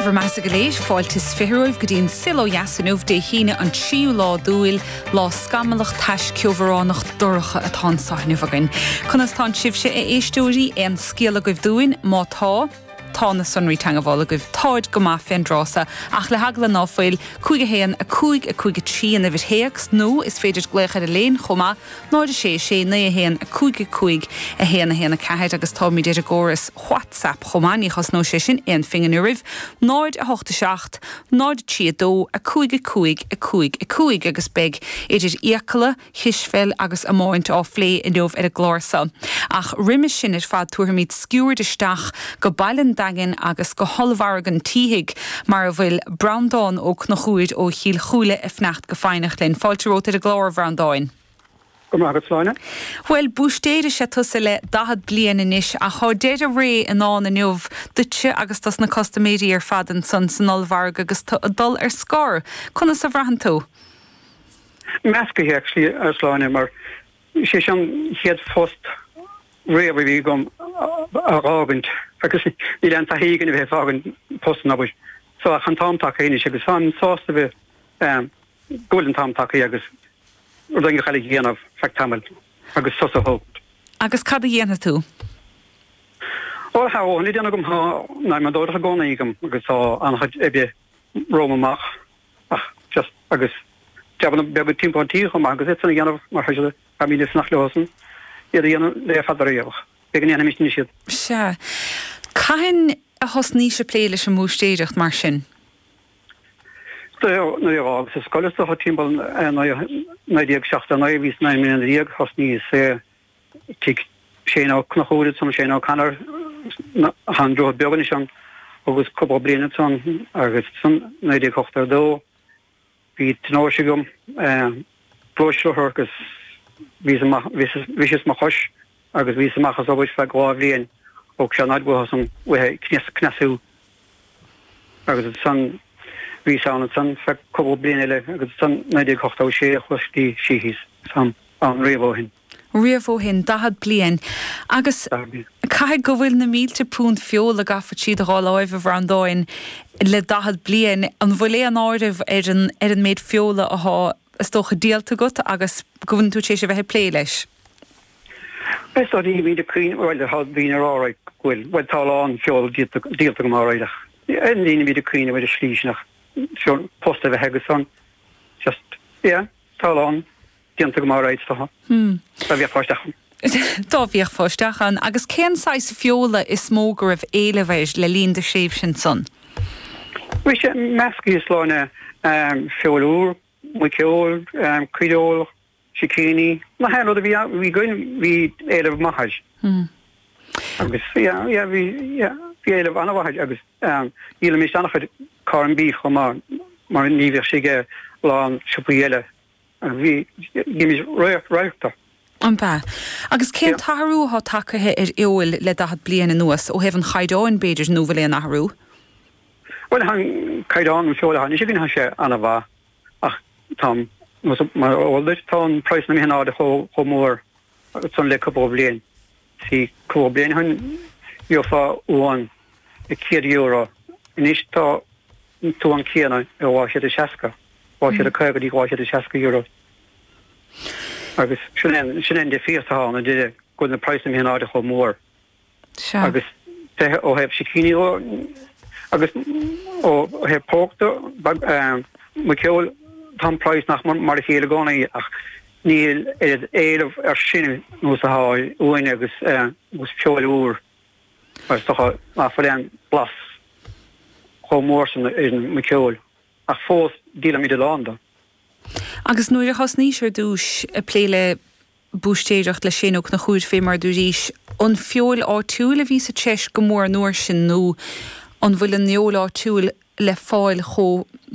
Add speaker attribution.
Speaker 1: Raibh bhur mbeatha go léir, fáilte is 20 romhaibh go dtí an Saol Ó Dheas inniu, Dé hAoine an tríú lá d'Iúil, lá scamallach tais ceobhránach dorcha atá anso inniu againn. Conas tánn sibhse, a éisteoirí? Aon scéal agaibh dúinn? Má tá, tá na sonraí teangabhála agaibh. Táid go maith fén dtráth so, ach le heagla ná fuil, 5 1 5 5 3 an uimhir théacs, nó is féidir glaoch ar an léin chomh maith, 0 6 6 9 1 5 5 1 1 4 agus táimid ar an gcóras WhatsApp chomh maith, ní chosnóidh sé sin aon phingin oraibh, 0 8 7 0 3 2 5 5 5 5 agus beidh idir fhiacla, chispheil agus iomáint á phlé inniu ar an gclár so. Ach roimis sin ar fad tabharfaimid sciuird isteach go baile an Daingin agus go hOllmhargadh an tSíthigh mar a bhfuil Breandán Ó Conchúir ó Chill Chúile ag fanacht go foighneach linn. Fáilte romhat ar an gclár, a Bhreandáin.
Speaker 2: Go raibh maith agat, Sláine.
Speaker 1: Bhuel, búistéir is ea tusa le 40 bliain anois ach thá deireadh ré i ndán inniu duitse agus dos na custaiméirí ar fad ansan san ollmhargadh agus tú ag dul ar scor. Conas a bhraitheann tú?
Speaker 2: Meascaithe, actually, a Shláine, mar is é seo an chéad phost riamh a bhí agam a dh'fhágaint agus níl aon taithí againn a bheith ag fágaint post an obair. So ach an t-am tagtha anois agus táim sásta bheith, go bhfuil an t-am tagtha agus rud éigin eile a dhéanamh feadh tamaill agus sos a thógaint.
Speaker 1: Agus cad a dhéanfaidh tú?
Speaker 2: Bhuel, tá a dhóthain le déanamh agam, tá an adhmadóireacht i gcónaí agam agus tá an-chuid oibre romham amach. Ach just, agus jabanna beaga timpeall an tí chomh maith agus iad san a dhéanamh mar tá siad, táimid ag fanacht leosan iad a dhéanamh le fada riamh ach b'fhéidir go ndéanfaimis anois iad.
Speaker 1: Sea. Cathain a thosnaís ag plé leis an mbúistéireacht mar sin?
Speaker 2: Nuair a dh'fhágas an scoil is dócha timpeall 1979 bhíos 19 mbliana thosnaíos tigh Shane Ó Conchúir ansan, Shane O'Connor, thá an Droichead Beag anois ann, agus cúpla bliain ansan agus ansan 1982 bhí tionóisc agam, gluaisrothar agus bhíos amach, bhriseas mo chois agus bhíos amach as obair feadh 2 bhliain, thóg sé an fhaid uathusan uaithe cneasú agus ansan bhíos ann ansan feadh cúpla bliain eile agus ansan 1986 chuas go dtí Sheehy's, táim ann riamh ó shin.
Speaker 1: riamh ó shin, 40 bliain. Agus caithfidh go bhfuil na mílte punt feola gafa trí do dhá láimh, a Bhreandáin, le 40 bliain. An bhfuil aon áireamh ar an ar an méid feola athá, is dócha, díolta agat agus go bhfuil tú tar éis a bheith ag plé leis?
Speaker 2: Is dóigh ní bhíonn ag cuimhneamh, bhuel, tá daoine ag rá right go bhfuil, bhuel tá a lán feola díolta díolta agam alright ach ní bhíonn ag cuimhneamh ar an slí sin ach feoil post a bheith agat san just, yeah, tá a lán. déanta agam alright is dócha. Dá bhféachfá isteach ann.
Speaker 1: Dá bhféachfá isteach ann. Agus cén saghas feola is mó go raibh éileamh air le linn do thréimhse ansan?
Speaker 2: Bhí sé meascaithe Sláine, feoil úr, muiceoil, caoireoil, sicíní, na haon rud a bhí againn bhí éileamh maith air. Agus yeah, yeah, bhí, yeah, bhí éileamh an-mhaith air agus dhíolaimis an-chuid corned beef chomh maith mar ní bhíodh sé ag a lán siopaí eile. Bhí, bhímis radharc de.
Speaker 1: An b'ea? Agus cén t-athrú atá tagtha ar fheoil le 40 bliain anuas, ó thaobh an chaighdeáin, b'fhéidir, nó bhfuil aon athrú?
Speaker 2: Bhuel, tá an caighdeán an feoil atá anois againn, tá sé an-mhaith ach tá, mar is eol duit, tá an praghas imithe in airde chomh mór san le cúpla bliain. See, cúpla bliain ó shin gheofá uan ag €100, anois tá an t-uan céanna ar 260, 250 go dtí €260. Agus sin é, sin é an difríocht atá ann, idir go bhfuil na praghsanna imithe in airde chomh mór.
Speaker 1: Sea.
Speaker 2: Agus ó thaobh sicíní dhó, agus ó thaobh pork de, muiceoil, tá an praghas nach mar a chéile i gcónaí ach níl oiread éileamh ar sin nós atá ar uain agus feoil úr. Mar is dócha ná fuil aon blas chomh mór san ar an muiceoil, ach fós díolaimid a lán de.
Speaker 1: Agus nuair a thosnaís ar dtúis ag plé le búistéireacht le Shane Ó Conchúir fé mar a dúraís, an feoil áitiúil a bhí sa treis go mór an uair sin nó an bhfuil an fheoil áitiúil le fáil chomh.